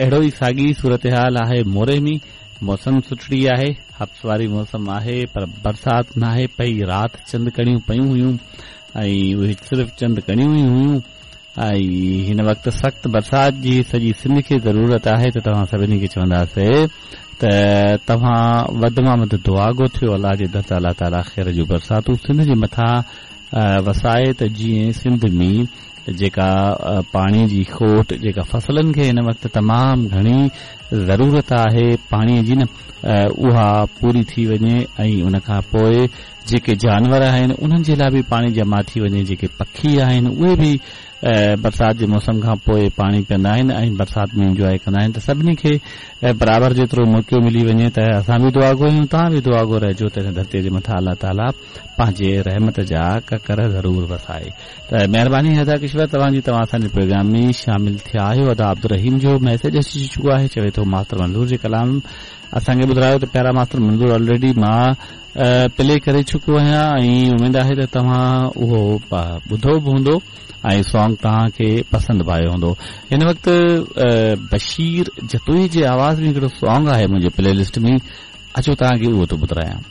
اهڙو ئي ساڳي صورتحال آهي موري ۾، موسم سٺڙي آهي، حبس واري موسم آهي پر برسات ناهي پئي، رات چند ڪڻيون پيون هيون ۽ اهي صرف چند ڪڻيون ئي هيون ۽ هن وقت سخت برسات جي سڄي سنڌ کي ضرورت آهي ته توهان سڀني کي چونداسي ته توهان وڌ مان وڌ دعاگو ٿيو الله جي در ته الله تعالي خير جون برساتون سنڌ جي مٿان وسائي ته جيئن سنڌ ۾ جيڪا پاڻي جي کوٽ جيڪا فصلن کي هن وقت تمام گهڻي ضرورت آهي پاڻي جي نه اها پوري ٿي وڃي ۽ ان کان پوء جيڪي جانور آهن انهن جي لاء به پاڻي جمع ٿي وڃي جيڪي پکي آهن اهي به برسات جي موسم کان پوء پاڻي پيئندا آهن ۽ برسات ۾ انجواء ڪندا آهن ته سڀني کي برابر جيترو موقعو ملي وڃي ته اسان به دعاگو آهيون توهان به دعاگو رهجو ته هن ڌرتي جي مٿان الله تعالي پنهنجي رحمت جا ڪڪر ضرور وسائي ته مهرباني ادا ڪشور توهان جي توهان اسان جي پروگرام ۾ شامل ٿيا آهيو ادا عبدالرحيم جو ميسيج اچي چڪو آهي چوي ٿو ماستر منظور جي ڪلام اسان کي ٻڌرايو ته پيارا ماستر منظور آلريڊي مان پلي ڪري چڪو آهيان ۽ اميد آهي ته توهان اهو ٻڌو به هوندو ۽ سانگ توهان کي پسند به آيو هوندو هن وقت بشير جتوئي جي آواز ۾ هڪڙو سانگ آهي منهنجي پلي لسٽ ۾ اچو توهان کي اهو ٿو ٻڌرايان.